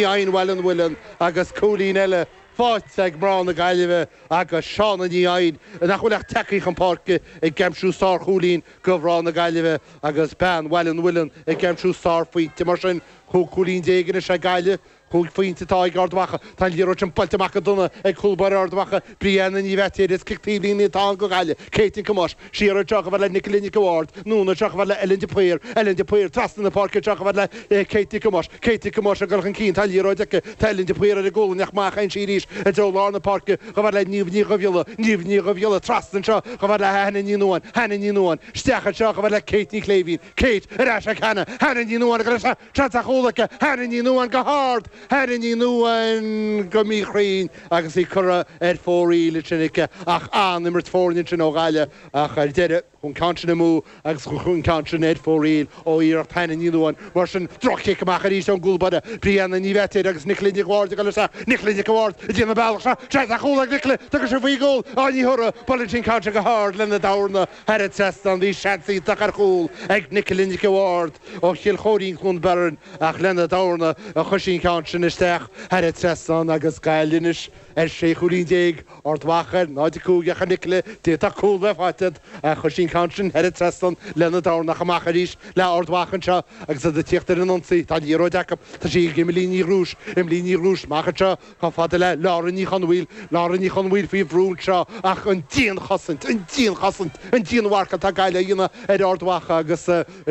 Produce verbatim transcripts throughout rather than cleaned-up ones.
Eidhinn Bhaile an Mhuilinn agus cúilín eile faighte ag mná na Gaillimhe agus Shauna Ní Eidhin, nach bhfuil ach tagtha chun páirce, ag aimsiú sárchúilín do mhná na Gaillimhe agus bean Bhaile an Mhuilinn ag aimsiú sárphointe. Mar sin, cúig chúilín déag anois ag Gaillimh. Cúig phointe atá ag Ard Mhacha. Tá an liathróid sin buailte amach go dona ag cúl báire Ard Mhacha, Brianna Ní Bheaitéir. Is cic taobhlíne atá ann do Ghaillimh. Kate Nic Thomáis siar anseo chomh fada le Nicola Nic a' Bhaird. Anonn anseo chomh fada le Ellen de Paor. Ellen de Paor trasna na páirce anseo chomh fada le Kate Nic Thomáis. Kate Nic Thomáis ag dul chun cinn. Tá an liathróid aici. Tá Ellen de Paor ar a gualainn ach amach a théann sí arís i dtreo lár na páirce chomh fada le Niamh Ní Dhubhghiolla. Niamh Ní Dhubhghiolla trasna anseo chomh fada le Hannah Ní Nuadháin. Hannah Ní Nuadháin isteach anseo chomh fada le Kate Ní Chléibhín. Kate ar ais ag Hannah. Hannah Ní Nuadháin ag dul isteach. Seans ar chúl aici. Hannah Ní Nuadháin go hard. Hannah Ní Nuadháin go míchruinn agus í curtha ar fóraoil ansin aici ach an-imirt foirne ansin ó Ghaillimh ach ar deireadh chuaigh an ceann sin amú agus chuaigh an ceann sin ar fóraoil ó iarracht Hannah Ní Nuadháin. Mar sin, droch-chic amach arís ón gcúl báire, Brianna Ní Bheaitéir agus Nicola Nic Bhaird ag dul isteach. Nicola Nic Bhaird ag déanamh bealach seo. Seans ar chúl ag Nicola. Tugann sí faoin gcúl. Á ní thiúrfaidh. Buaileann sí an ceann sin go hard lena dorna thar an trasnán. Bhí seans iontach ar chúl ag Nicola Nic Bhaird ó Chill Chóirín, Cluain Bheirn, ach lena dorna a chuir sí an ceann sin isteach thar an trasnán agus Gaillimh anois ar sé chúilín déag, Ard Mhacha ar náid a cúig ach a Nicola, d'fhéadfadh cúl bheith faighte agat ach chuir sí an ceann sin thar an trasnán lena dorna ach amach arís le Ard Mhacha anseo agus iad ag tíocht ar an ionsaí. Tá an liathróid acu. Tá sí ag Emily Ní Ghrúis. Emily Ní Ghrúis amach anseo chomh fada le Laura Ní Chonmhaoil. Laura Ní Chonmhaoil faoi bhrú anseo ach an dianchosaint, an dianchosaint, an dianmharcáil atá Gaillimh a dhéanamh ar Ard Mhacha agus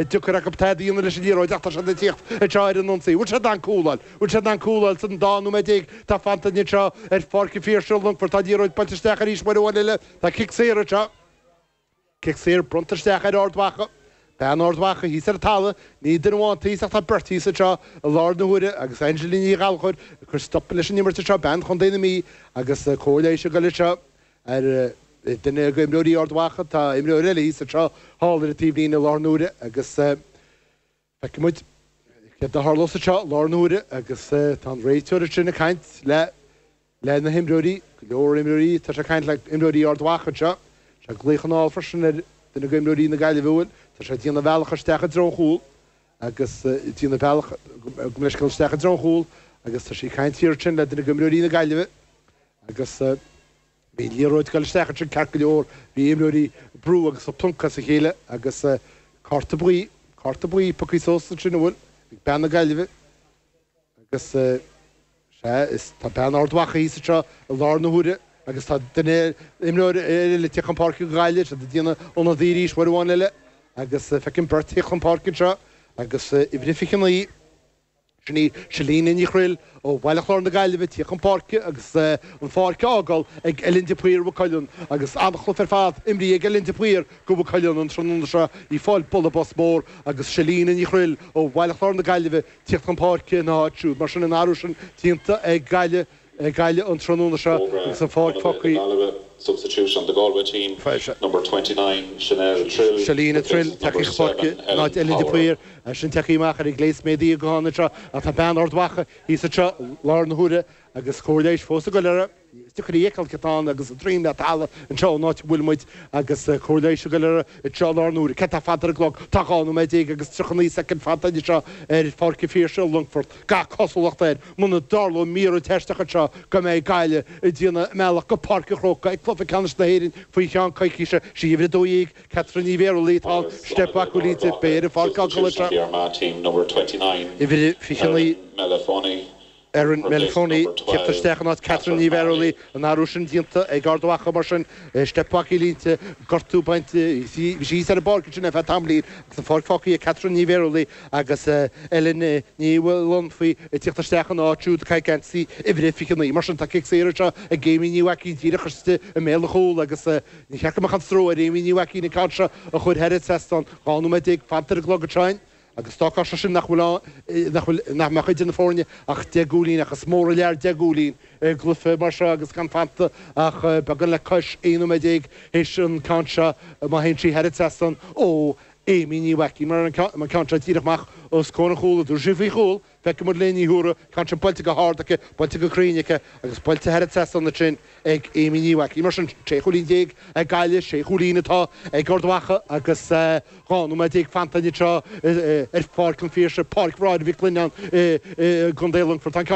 deacair acu tada a dhéanamh leis an liathróid ach tá siad ag tíocht anseo ar an ionsaí. Bhfuil siad in ann cúl a fháil? Bhfuil siad in ann cúl a fháil san dá nóiméad déag atá fanta anseo ar Pháirc an Phiarsaigh i Longfort? Tá an liathróid buailte isteach arís uair amháin eile. Tá cic saor anseo. Cic saor bronnta isteach ar Ard Mhacha. Bean Ard Mhacha thíos ar an talamh. Ní duine amháin thíos ach tá beirt thíos anseo i láthair na huaire agus Angelina Ní Ghallchóir ag cur stop leis an imirt anseo, bean Chontae na Mí agus cóir leighis ag dul anseo ar duine d'imreoirí Ard Mhacha. Tá imreoir eile thíos anseo thall ar an taobhlíne i láthair na huaire agus feicfidh muid céard a tharlós anseo i láthair na huaire agus tá an réiteoir ansin ag caint le le na himreoirí, go leor imreoirí, tá sé ag caint le imreoirí Ard Mhacha anseo. Tá sé ag glaoch anall freisin ar duine d'imreoirí na Gaillimhe bhfuil, tá sé ag déanamh a bhealach isteach i dtreo an chúil agus ag déanamh a bealach go leithscéal isteach i dtreo an chúil agus tá sí ag caint thiar ansin le duine d'imreoirí na Gaillimhe agus bhí an liathróid ag dul isteach ansin ceart go leor, bhí imreoirí ag brú agus ag pluncadh as a chéile agus cárta buí, cárta buí pioctha suas ansin an bhfuil, ag bean na Gaillimhe agus sea, is tá bean Ard Mhacha thíos anseo i láthair na huaire agus tá duine, imreoir eile ag tíocht chun páirce do Ghaillimh, siad ag déanamh ionadaí arís uair amháin eile agus feicim beirt ag tíocht chun páirce anseo agus uimhir a fiche naoi, sin í Selina Ní Chroill ó Bhaile Chláir na Gaillimhe ag tíocht chun páirce agus an pháirc á fhágáil ag Ellen de Paor Mhaigh Cuilinn agus an-chluiche ar fad imrithe ag Ellen de Paor do Mhaigh Cuilinn an tráthnóna seo, í ag fáil bualadh bos mór agus Selina Ní Chroill ó Bhaile Chláir na Gaillimhe tíocht chun páirce ina háit siúd. Mar sin an athrú sin déanta ag Gaillimh, ag Gaillimh an tráthnóna seo agus an pháirc fágtha. Substitute on the Galway team, number twenty nine, Chanel Trill, Selina Trill, replaced tagtha number chun páirce seven, in Ellen áit Ellen de Power. Paor. Sin tagtha amach ar an gclé is méadaithe go hána anseo ach tá bean Ard Mhacha thíos anseo i láthair na huaire agus cóir leighis fós ag goil uirthi. Is deacair í a fheiceáil cé atá ann agus a droim le talamh anseo an áit a bhfuil muid agus cóir leighis ag goil uirthi anseo i láthair na huaire. Céard tá fanta ar an gclog? Tá dhá nóiméad déag agus tríocha naoi soicind fanta anseo ar Pháirc an Phiarsaigh i Longfort. Gach cosúlacht air, muna dtarlóidh míorúilt aisteach anseo, go mbeidh Gaillimh ag déanamh a mbealach go Páirc an Chrócaigh ag cluiche ceannais na hÉireann faoi cheann coicíse. Sí uimhir a dó dhéag, Catherine Ní Bhéarlaí, atá ann. Agus Steip ionadaí acu d'Ard línte, beidh ar Mhacha, an pháirc á substitution anseo. of the Armagh team, number twenty nine, Uimhir a fiche naoi. Erin Melifonwu, Erin replaced Melifonwu, number tíocht twelve, isteach in áit Catherine Catherine Ní Bhéarlaí, Farrelly. an athrú sin déanta ag Ard Mhacha mar sin, steip acu línte, gortú bainte, bhí sí thíos ar an bpáirc ansin ar feadh tamaillín agus an pháirc fágtha ag Catherine Ní Bhéarlaí agus Ellen Ní Mhullainfí ag tíocht isteach ina áit siúd, ag caitheamh geansaí uimhir a fiche naoi. Mar sin tá cic saor anseo ag Amy Ní Mhaicín díreach istigh i mbéal an chúil agus ní cheart go mbeadh an stró ar Amy Ní Mhaicín an ceann seo a chur thar an trasnán. Dhá nóiméad déag fanta ar an gclog anseo. Agus d'fhágfadh sé sin nach bhfuil ann, nach bhfuil, nach mbeadh idir na foirne ach deich gcúilín, ach is mór an lear deich gcúilín i gcluiche mar seo agus gan fanta ach beagán le cois aon nóiméad déag théis an ceann seo má théann sí thar an trasnán ó Amy Ní Mhaicín mar an ceann seo díreach amach os comhair an chúil dúirt sí faoi chúl feicfidh muid Léiní Thuara ceann sin buailte go hard aici buailte go cruinn aici agus buailte thar an trasnán ansin ag Amy Ní Mhaicín mar sin sé chúilín déag ag Gaillimh sé chúilín atá ag Ard Mhacha agus dhá nóiméad déag fanta anseo ar Pháirc an Phiarsaigh Páirc Mháire Mhic Lionnáin i gContae Longfoirt. Tá an ceann